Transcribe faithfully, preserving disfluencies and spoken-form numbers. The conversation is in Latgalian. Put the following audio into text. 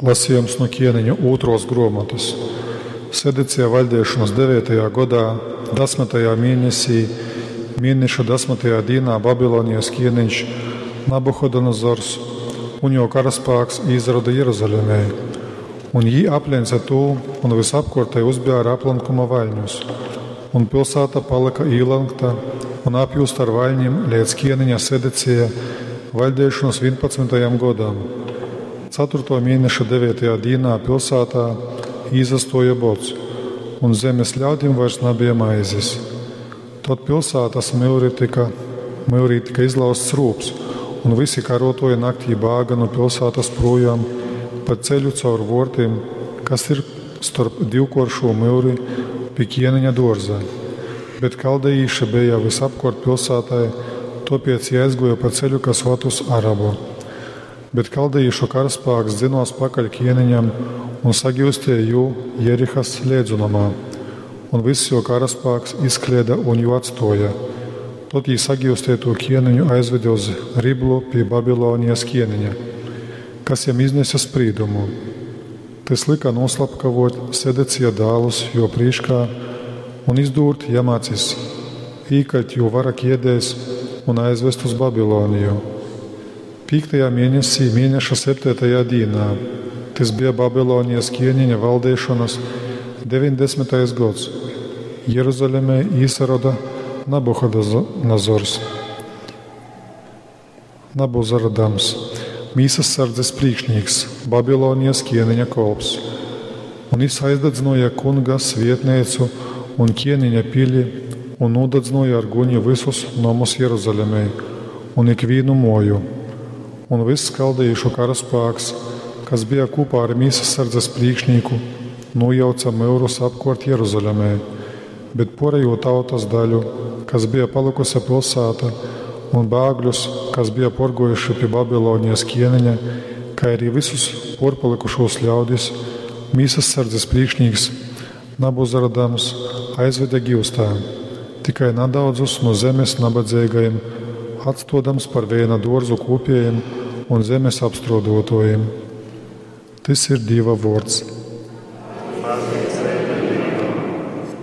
Lasījums nu ķieniņu ūtros gruomotys. Sedecija vaļdeišonys deveitajā godā, dasmytajā mienesī, mieneša dasmytajā dīnā Babilonijas ķieniņš Nabuhodonozors un juo karaspāks īsaroda Jeruzalemē. Un jī apleņce tū un vysapkuortei uzbēra aplankuma vaļņus. Un pilsāta palyka īlankta un apjūzta ar vaļnim leidz ķieniņa Sedecija vaļdeišonys vīnpadsmytajam godam. Caturtuo mieneša deveitajā dīnā pilsātā īsastuoja bods, un zemes ļaudim vairs nabeja maizis. Tod pilsātas myuri tyka, myurī tyka izlauzts rūbs, un vysi karuotuoji naktī bāga nu pilsātas prūjom pa ceļu caur vuortim, kas ir storp divkuoršū myuri pi ķieniņa duorza. Bet kaldejīši beja vysapkuort pilsātai, tuopiec jī aizguoja pa ceļu, kas vad uz Arabu. Bet kaldejīšu karaspāks dzynuos pakaļ ķieniņam un sagiusteja jū Jerihas leidzonumā, un vyss juo karaspāks izkleida un jū atstuoja. Tod jī sagiusteitū ķieniņu aizvede uz Riblu pi Babilonijas ķieniņa, kas jam iznese sprīdumu. Tys lyka nūslapkavuot Sedecija dālus juo prīškā un izdūrt jam acis, īkaļt jū vara kiedēs un aizvest uz Babiloniju. Pīktajā mienesī, mieneša septeitajā dīnā, tys bija Babilonijas ķieniņa valdeišonys deviņdesmitais gods, Jeruzalemē īsaroda Nabuhodonozors, Nabuzaradams, mīsassardzes prīkšnīks, Babilonijas ķieniņa kolps. Un jis aizdadzynuoja Kunga svietneicu un ķieniņa pili un nūdadzynuoja ar guni vysus nomus Jeruzalemē un ikvīnu muoju. Un vyss kaldejīšu karaspāks, kas bija kūpā ar mīsassardzes prīkšnīku, nūjauca myurus apkuort Jeruzalemē, bet puorejū tautas daļu, kas bija palykuse pilsāta, un bāgļus, kas bija puorguojuši pi Babilonijas ķieniņa, kai arī vysus puorpalykušūs ļaudis, mīsassardzes prīkšnīks Nabuzaradams aizvede giustā, tikai nadaudzus nu zemes nabadzeigajim, atstuodams par veina duorzu kūpiejim un zemes apstruoduotuojim. Tys ir Dīva vuords. Pateicība.